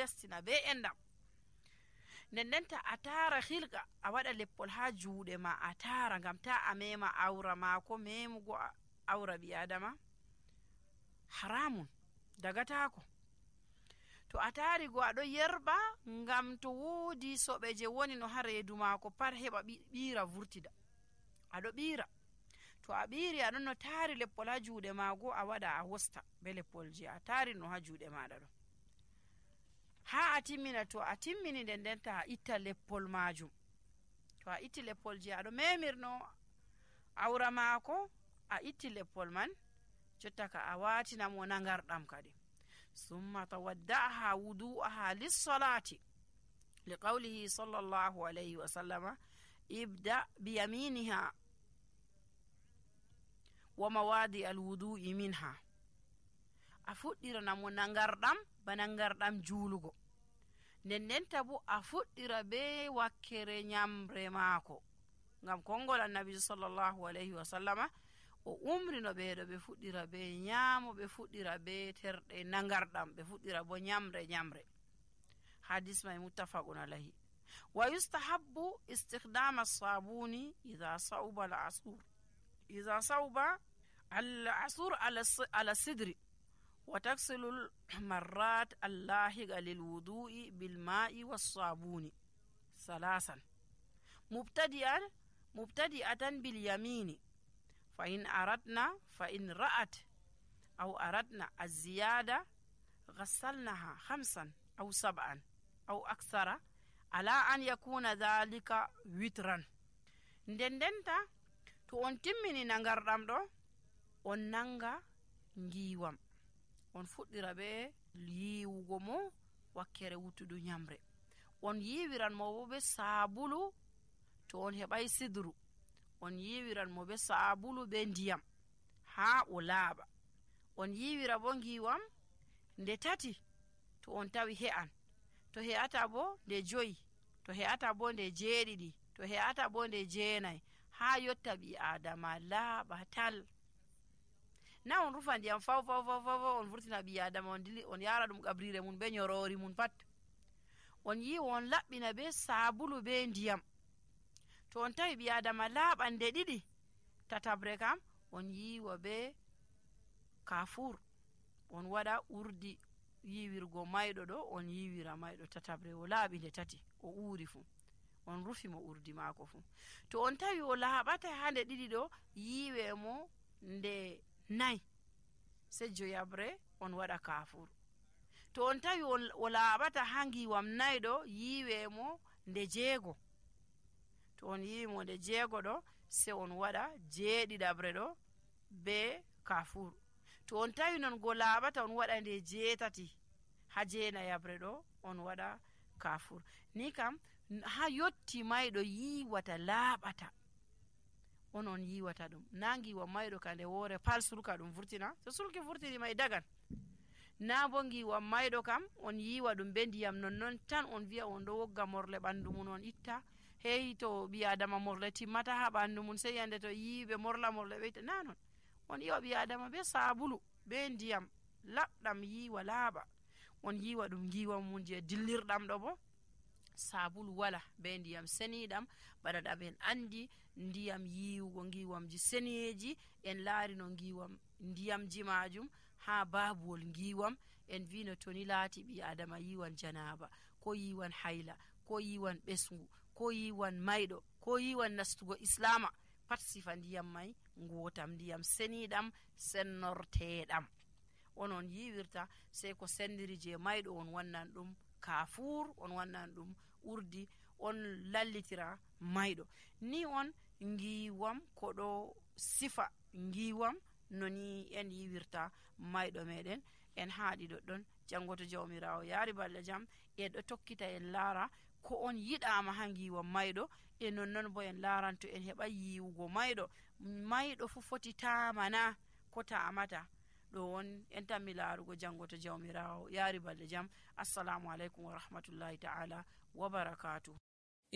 destina be endam. Ndendenta a tara hilga a waɗa leppol ha juuɗe ma a tara ngam ta a mema awra maako. Memugo awra ɓi adama haramun dagatako. To a tari go aɗo yerba ngam to woodi soɓe je woni no ha reedu maako pat heɓa ɓiira vurtida. Aɗo ɓiira, to a ɓiiri aɗon no tari leppol ha juuɗe maago a waɗa a wosta be leppol je a tari no ha juuɗe maɗa ɗo ha a timmina. To a timmini ndendenta a itta leppol majum. To a itti leppol je aɗo memirno awra maako a itti leppol man, jotta ka a watina mo nangarɗam kadi. summa tawadda'aha wudu'aha lis-salati liqawlihi sallallahu alayhi wa sallama ibda biyaminiha wa mawadi alwudu'i minha. A fuɗɗirana mo nangarɗam ba nangarɗam juulugo. Ndendenta bo a fuɗɗira be wakkere nyamre maako, ngam kongol annabi sallallahu alayhi wa sallama o umrino ɓeeɗo ɓe fuɗɗira be nyaamo, ɓe fuɗɗira be terɗe nangarɗam, ɓe fuɗɗira bo nyamre. Hadis mai muttafaqun alayhi. Wa yustahabbu istikhdama as-sabuni idha sauba al-asur ala sidri wa taksilu al-marrat allahiga lilwudu'i bilma'i was-sabuni salasan mubtadi'atan bilyamini fa in ra'at aw aradna az-ziyada ghassalnaha 5 aw 7 aw aksara ala an yakuna dhalika witran. Ndendenta to on timmini nangarɗam ɗo on nanga ngiwam, on fuɗɗira be yiwugo mo wakkere wutudu nyamre. On yiwiran mo bo be sabulu. To on heɓai sidru on yiwiran mo be sabulu be ndiyam ha o laaɓa. On yiwira bo ngiwam nde 3 to on tawi he'an, to he'ata bo nde 5, to he'ata bo nde 7, to he'ata bo nde 9, ha yotta ɓi adama laaɓa tal. Na on rufa ndiyam faw on vurtina ɓi adama on yara ɗum ƙabrire mun be nyorori mun pat. On yiwa on laɓɓina be sabulu be ndiyam. To on tawi ɓi adama laaɓan nde 2, tatabre kam on yiwa be kafur, on waɗa urdi yiwirgo mayɗo ɗo, on yiwira mayɗo tatabre o laaɓi nde 3 o uuri fu, on rufi mo urdi maako fu. To on tawi o laaɓata ha nde 2 ɗo, yiwe mo nde 4 sejjo yabre on waɗa kafur. To on tawi o laaɓata ha ngiwam 4 ɗo, yiwe mo nde 6. To on yiwi mo nde 6 ɗo, se on waɗa 7 ɗo be kafur. To on tawi non go laaɓata on waɗa nde 8 ha 9 yabre ɗo on waɗa kafur. Ni kam ha yotti mayɗo yiwata laaɓata on yiwata ɗum. Na ngiwa mayɗo ka nde woore pal sulka ɗum vurtina, so sulki vurtini may dagan. Na bo ngiwa mayɗo kam on yiwa ɗum be ndiyam nonnon tan on wi'a on ɗo wogga morle ɓandu mun on itta. Hey to ɓi adama morle timmata ha ɓandu mun, sey yande to yiɓe morle ɓe itta. Na non, on yiwa ɓi adama be sabulu be ndiyam laɓɗam yiwa laaɓa. On yiwa ɗum ngiwa mun je dillirɗam ɗo bo sabulu wala be ndiyam seniɗam. Bana ɗam en andi ndiyam yiwugo ngiwamji seneji en laari no ngiwam ndiyamji majum ha babuwol ngiwam en vino toni laati ɓi adama yiwan janaba, ko yiwan hayla, ko yiwan ɓesngu, ko yiwan mayɗo, ko yiwan nastugo islama, pat sifa ndiyam mai ngotam, ndiyam seniɗam sennorteɗam onon yiwirta. Sei ko sendiri je mayɗo on wannan ɗum kafur, on wannan ɗum urdi, on lallitira mayɗo. Ni on ngiwam ko ɗo sifa ngiwam noni en yiwirta mayɗo meɗen. En haɗi ɗoɗɗon, jango to jawmirawo yaari balɗe jam en ɗo tokkita en laara ko on yiɗama ha ngiwam mayɗo, e nonnon bo en laranto en heɓa yiwugo mayɗo fu foti tamana ko tamata. ɗo on en tammi laarugo jango to jawmirawo yaari balɗe jam. Assalamu alaikum wa rahmatullahi ta'ala wa barakatuh.